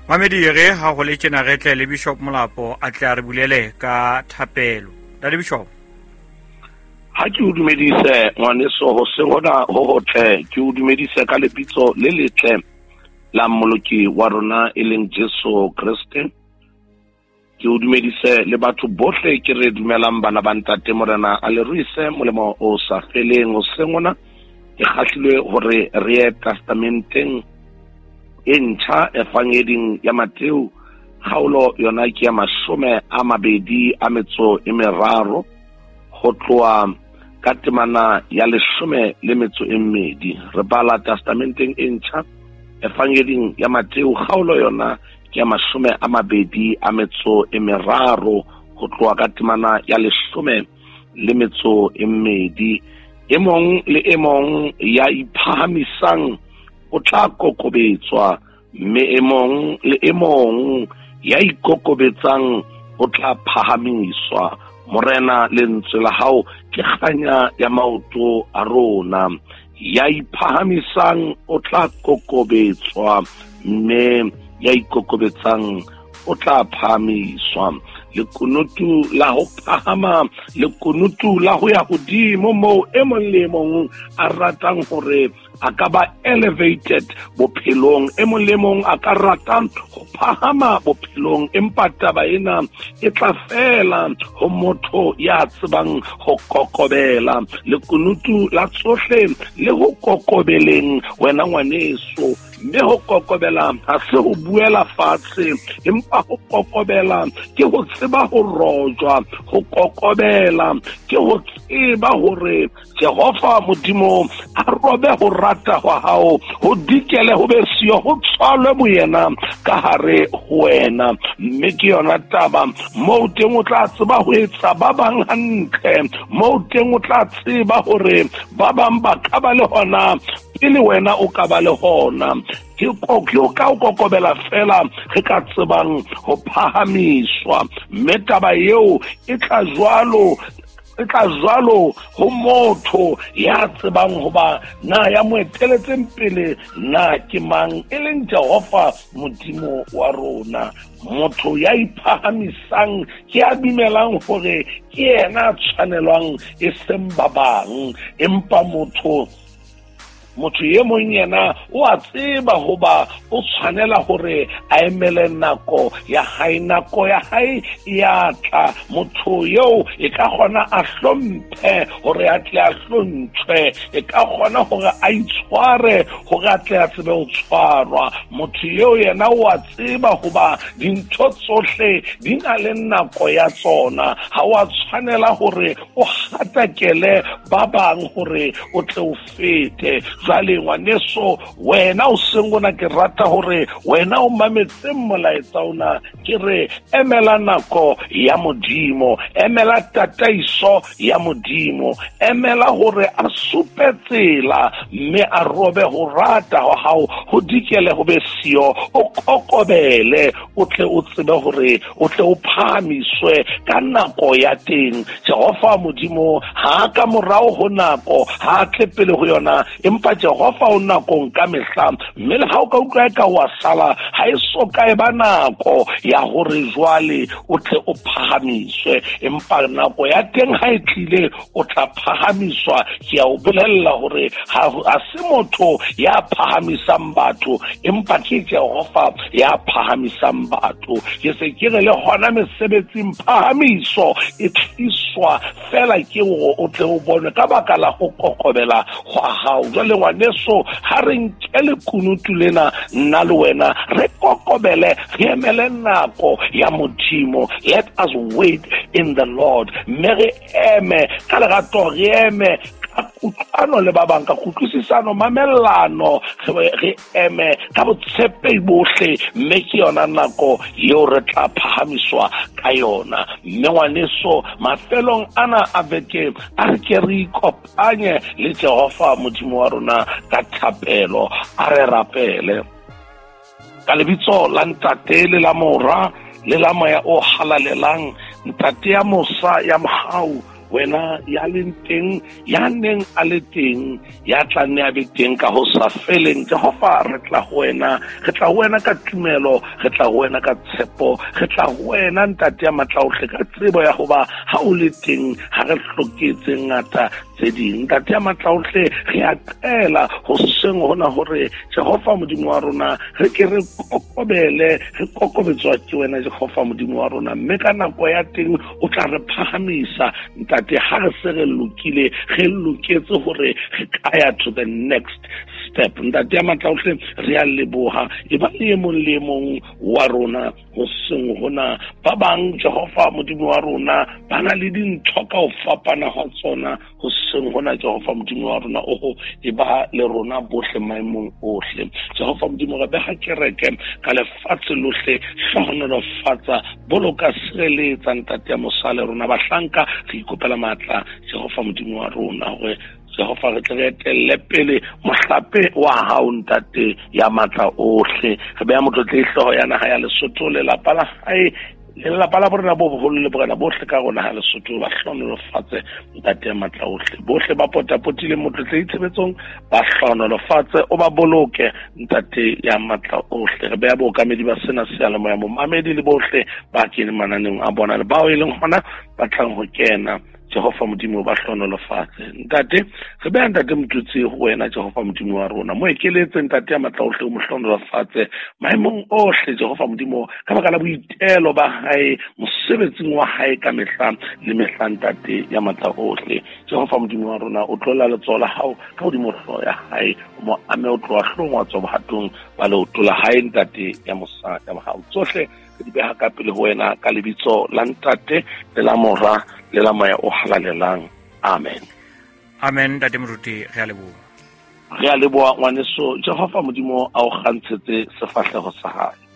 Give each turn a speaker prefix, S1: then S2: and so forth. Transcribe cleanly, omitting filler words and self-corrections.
S1: Mamedi re ha go le tjena re tle le Bishop Molapo a tle a re bulele ka thapelo. Ntate Bishop.
S2: Ha ke o dumedise ngwaneso ho se hona ho hotle, ke o dumedise ka lebitso le letle la Mmoloki wa rona e leng Jesu Kreste. Ke o dumedise le batho bohle ke re dumelang bana ba ntate Morena a le ruise molemo o sa feleng. Hoseng hona ke kgahlilwe hore re ye testamenteng e ntjha evangeding ya Mateo, kgaolo yona ke ya 23 ho tloha ka temana ya 12. Re bala testamenteng e ntjha evangeding ya Mateo, kgaolo yona ke ya 23 ho tloha ka temana ya 12. E mong le e mong ya iphahamisang o tla kokobetswa, mme e mong le e mong ya ikokobetsang o tla phahamiswa. Morena, lentswe la hao ke kganya ya maoto a rona. Ya iphahamisang o tla kokobetswa, mme ya ikokobetsang o tla phahamiswa. Lekunutu la ho phahama, lekunutu la ho ya hodimo moo e mong le e mong a ratang hore a ka ba elevated bophelong, e mong le mong a ka rata ho phahama bophelong, empa taba ena e tla fela ho motho ya tsebang ho kokobela. Lekunutu la tsohle le ho kokobeleng wena ngwaneso, mme ho kokobela ha se ho buela fatshe, empa ho kokobela ke ho tseba ho rojwa. Ho kokobela ke ho tseba hore Jehova Modimo a robe ho rata hwa hao, ho dikele ho be siyo, ho tswalwe boyena ka hare ho wena. Mme ke yona taba moo teng o tla tseba ho etsa ba bang hantle, moo teng o tla tseba hore ba bang ba ka ba le hona pele wena o ka ba le hona. Ke ka o kokobela fela re ka tsebang ho phahamiswa, mme taba eo e tla jwalo, e tla jwalo ho motho ya tsebang hoba na ya mo eteletseng pele na ke mang, e leng Jehova Modimo wa rona. Motho ya iphahamisang ke ya dumelang hore ke yena a tshwanelwang e seng ba bang, empa motho e mong yena o a tseba hoba o tshwanela hore a emele nako ya hae. Nako ya hae ya tla, motho eo e ka kgona a hlomphe hore a tle a hlontshwe, e ka kgona hore a itshware hore a tle a tsebe ho tshwarwa. Motho eo yena o a tseba hoba dintho tsohle di na le nako ya tsona. Ha o a tshwanela hore o hatakele ba bang hore o tle o fete. Jwale ngwaneso, wena o seng ona, ke rata hore wena o mametse molaetsa ona, ke re emela nako ya Modimo, emela tataiso ya Modimo, emela hore a supe tsela mme a robe ho rata ho hao, ho dikele ho be siyo, o kokobele, o tle o tsebe hore o tle o phahamiswe ka nako ya teng. Jehova Modimo ha ka morao ho nako, ha tle pele ho yona, empa Jehova o nakong ka mehla. Mme le ha o ka utlwa e ka wa sala, ha e so ka e ba nako ya hore jwale o tle o phahamiswe, empa nako ya teng ha e tlile o tla phahamiswa. Ke a o bolella hore ha se motho ya phahamisang batho, empa ke Jehova ya phahamisang batho. Ke se ke re le hona mesebetsing phahamiso e tliswa fela ke hore o tle o bone ka baka la ho kokobela hwa hao. Jwale ngwaneso, ha re nke lekunutu lena nna le wena, re kokobele, re emele nako ya Modimo. Let us wait in the Lord. Mme re eme ka lerato, re eme ka kutlwano le ba bang, ka kutlwisisano, mamellano, re eme ka botshepehi bohle, mme ke yona nako eo re tla phahamiswa ka yona. Mme ngwaneso, mafelong ana a beke a re ke re ikopanye le Jehova Modimo wa rona ka thapelo. A re rapele ka lebitso la Ntate le la Mora le la Moya o Halalelang. Ntate ya mosa ya mohau, Wena ya leng teng, ya neng a le teng, ya tla nne a be teng ka ho sa feleng. Jehova, re tla ho wena, re tla ho wena ka tumelo, re tla ho wena ka tshepo, re tla ho wena Ntate ya matla ohle ka tsebo ya hoba ha o le teng ha re hloke tse ngata tse ding. Ntate ya matla ohle, re a qela hoseng hona hore Jehova Modimo wa rona, re ke re kokobele, re kokobetswa ke wena Jehova Modimo wa rona, mme ka nako ya teng o tla re phahamisa. Ntate, ha re se re lokile, re loketse hore re ka ya to the next step. Ntate ya matla ohle, re a leboha. E ba le e mong le e mong wa rona hoseng hona. Ba bang, Jehova Modimo wa rona, ba na le dintho ka ho fapana ha tsona hoseng hona. Jehova Modimo wa rona, oho, e ba le rona bohle maemong ohle. Jehova Modimo, re beha kereke ka lefatshe lohle, hlohonolofatsa, boloka, sireletsa Ntate ya mosa le rona bahlanka. Re ikopela matla, Jehova Modimo wa rona, hore Jehova re tle re etelle pele mohlape wa hao, Ntate ya matla ohle. Re beha motlotlehi hlooho ya naha ya Lesotho, lelapa la hae, lelapa la borena bo boholo le borena bohle ka rona ha Lesotho, ba hlohonolofatse Ntate ya matla ohle. Bohle ba potapotileng motlotlehi tshebetsong, ba hlohonolofatse, o ba boloke Ntate ya matla ohle. Re beha bookamedi ba sena seyalemoya, momamedi le bohle ba keneng mananeng a bona le bao e leng hona ba tlang ho kena, Jehova Modimo ba hlohonolofatse. Ntate, re beha Ntate Motutsi ho wena, Jehova Modimo wa rona, mo ekeletse Ntate ya matla ohle, o mo hlohonolofatse maemong ohle, Jehova Modimo, ka baka la boitelo ba hae mosebetsing wa hae ka mehla le mehla. Ntate ya matla ohle, Jehova Modimo wa rona, o tlola letsoho la hao ka hodimo hlooho ya hae, o mo ame o tloha hloohong wa tswa bohatong ba leoto la hae. Ntate ya mosa ya mohau, tsohle re di beha ka pele ho wena ka lebitso la Ntate le la Mora le la Moya o Halalelang. Amen.
S1: Amen. Ntate Moruti, re a leboha.
S2: Re a leboha, ngwaneso. Jehova Modimo a o kgantshetse sefahleho sa hae.